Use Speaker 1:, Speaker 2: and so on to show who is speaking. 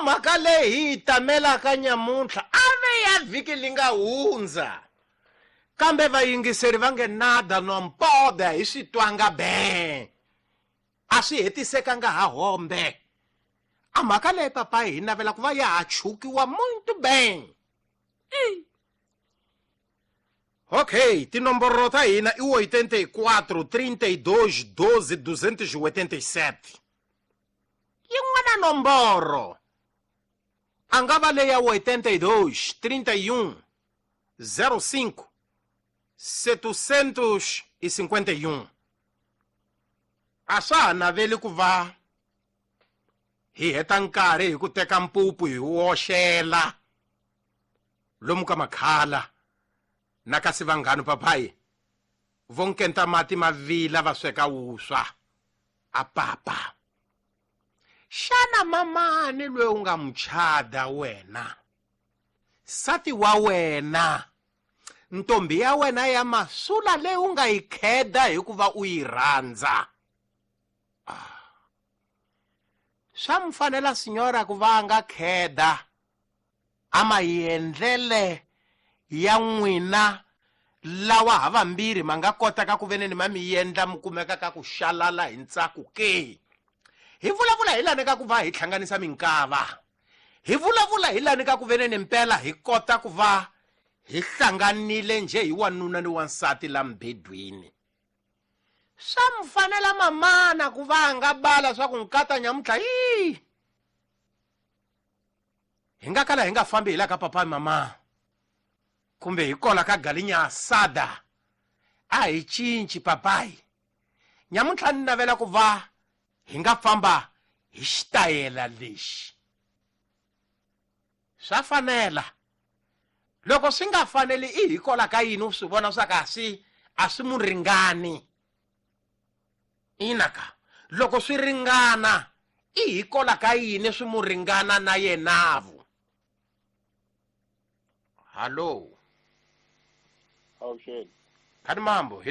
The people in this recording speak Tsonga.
Speaker 1: mhaka leyi hi yi tamelaka nyamuntlha a ve ya vhiki li nga hundza kambe vayingiseri va nge nada no mpoda hi swi twanga be a swi hetisekanga ha hombe a mhaka leyi papayi hi navela ku va ya ha chukiwa muito bem. Ok, tinomboro ta hina i 84 32 12 287. Yin'wana nomboro a nga va leya 82 31 05 751. A swa ha naveli ku va hi heta nkarhi hi ku teka mpupu hi woxela lomu ka makhala na kasi vanghanu papayi vo nkenta mati ma vila va sweka wuswa a papa. Xana mamani loyi u nga muchada wena, sati wa wena, ntombi ya wena ya masula leyi u nga yi kheda hikuva u yi rhandza, swa mu fanela sinyora ku va a nga kheda a maendlele ya n'wina lawa ha vambirhi ma nga kotaka ku veneni ma mi endla mi kumeka ka ku xalala hi ntsako ke? Hi vulavula hi lani ka ku va hi hlanganisa minkava, hi vulavula hi lani ka ku veneni mpela hi kota ku va hi hlanganile njhe hi wanuna ni wansati la mbedweni. Swa mu fanela mamana ku va a nga bala swa ku nkata nyamuntlha yi hi nga kala hi nga fambi hi la ka papa mama kumbe hi kola ka galinya asada a hi cinci papayi. Nyamuntlha ni navela ku va hi nga famba hi xitayela lexi. Swa fanela. Loko swi nga faneli i hi kola ka yini u swi vona swa ka a swi mu ringani. Ina ka loko swi ringana i hi kola ka yini swi mu ringana na yenavu. Hallo.
Speaker 2: Awuxeni.
Speaker 1: Khani mambo.